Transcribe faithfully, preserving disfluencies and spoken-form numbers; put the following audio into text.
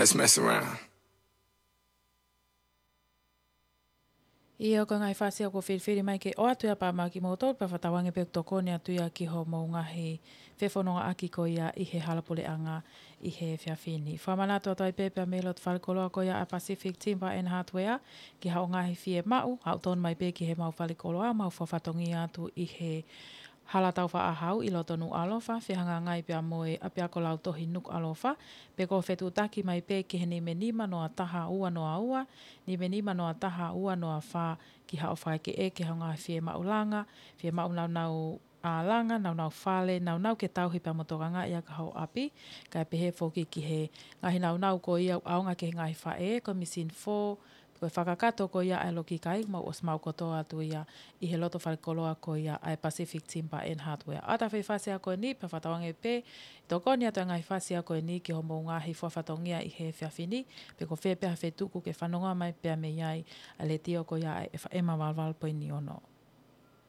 Just mess around. ʻIo, ko e ngaahi fasi ʻoku filifili mai ke ʻoatu ia pea mo kimoutolu, pea fakatauange pē ʻoku tokoni atu ia ki hoʻomou ngaahi fefonongaʻaki ko ia ʻi he hala puleʻanga ʻi he efiafi ni. Fakamanatu atu ai pē pea mei loto falekoloa ko ia ʻa Pacific Timber and Hardware, ki haʻo ngaahi fiemaʻu, haʻu tonu mai pē ki heʻemau falekoloa, mau fakafatongia atu ʻi he Hala Taufaʻāhau ʻi loto Nukuʻalofa, fehangahangai pea mo e ʻapiako lautohi Nukuʻalofa, pe ko e fetuʻutaki mai pē ki he nima nima noa taha ua noa ua, nima nima noa taha ua noa fā, ki haʻo fakaʻekeʻeke haʻo ngaahi fiemaʻu langa, fiemaʻu naunau ʻa langa, naunau fale, naunau ke tauhi pea mo tokangaʻi ʻaki haʻo ʻapi, kae pehē foki ki he ngaahi naunau ko ia ʻoku ʻaonga ki he ngaahi faʻē, ko e machine fō, ko e fakakakato ko ia ʻa e loki kai, mau ʻosi maʻu kotoa atu ia ʻi he loto falekoloa ko ia ʻa e Pacific Timber and Hardware. ʻOatu e fasi ko eni, pea fakatauange pē, tokoni atu e ngaahi fasi ko eni ki hoʻomou ngaahi fakafatongia ʻi he efiafi ni, pe ko fē pē ha feituʻu ʻoku ke fanongo mai pea mei ai, ʻa e letiō ko ia ʻa e F M valu valu poini ono.